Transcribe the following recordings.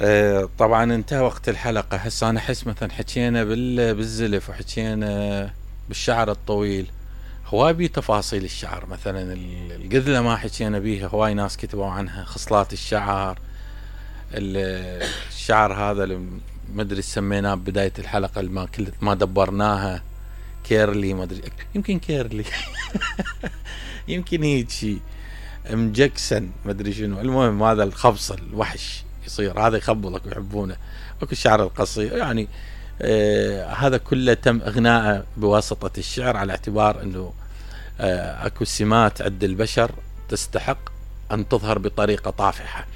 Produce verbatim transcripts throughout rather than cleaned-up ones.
آه طبعا انتهى وقت الحلقة. هسه انا احس مثلا حكينا بالزلف وحكينا بالشعر الطويل، هواي بي تفاصيل الشعر. مثلا القذلة ما حكينا بيها، هواي ناس كتبوا عنها. خصلات الشعر، الشعر هذا اللي ما ادري سميناه بداية الحلقة اللي ما كل ما دبرناها، كيرلي ما ادري، يمكن كيرلي يمكن هيك شيء مجكسن ما ادري شنو. المهم هذا الخبص الوحش يصير، هذا يخبلك ويحبونه. اكو الشعر القصير يعني. آه هذا كله تم اغناءه بواسطة الشعر، على اعتبار انه آه اكو سمات عند البشر تستحق ان تظهر بطريقة طافحة.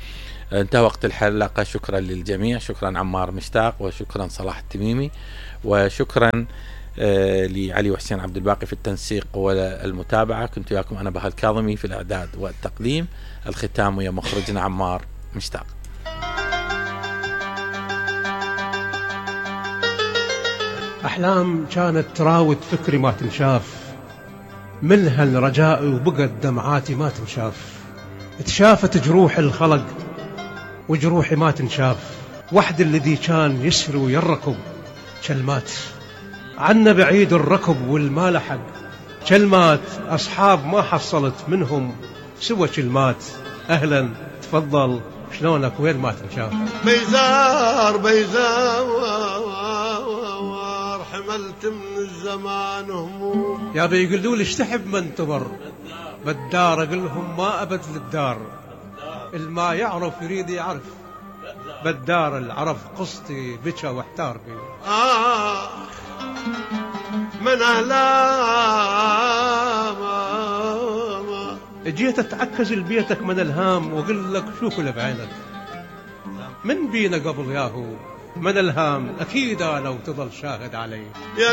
انتهى وقت الحلقة. شكرا للجميع، شكرا عمار مشتاق، وشكرا صلاح التميمي، وشكرا آه لعلي وحسين عبد الباقي في التنسيق والمتابعة. كنت وياكم انا بهاء الكاظمي في الاعداد والتقديم. الختام ويا مخرجنا عمار مشتاق. أحلام كانت تراود فكري ما تنشاف، ملها رجائي وبقت دمعاتي ما تنشاف. تشافت جروح الخلق وجروحي ما تنشاف، وحد الذي كان يسري ويركب كلمات عنا بعيد الركب والما لحق. كلمات أصحاب ما حصلت منهم سوى كلمات. أهلا تفضل شلونك وين ما تنشاف. بيزار بيزار حملت من الزمان هموم. يا بيقولوا لي اشتحب من تمر بالدار، اقول لهم ما ابد للدار. الما يعرف يريد يعرف بالدار، العرف قصتي بكى واحتار بي. آه من أهلام جيت اتعكز لبيتك من الهام، واقول لك شوف اللي بعينك من بينا قبل ياهو من الهام. اكيد انا وتظل شاهد علي.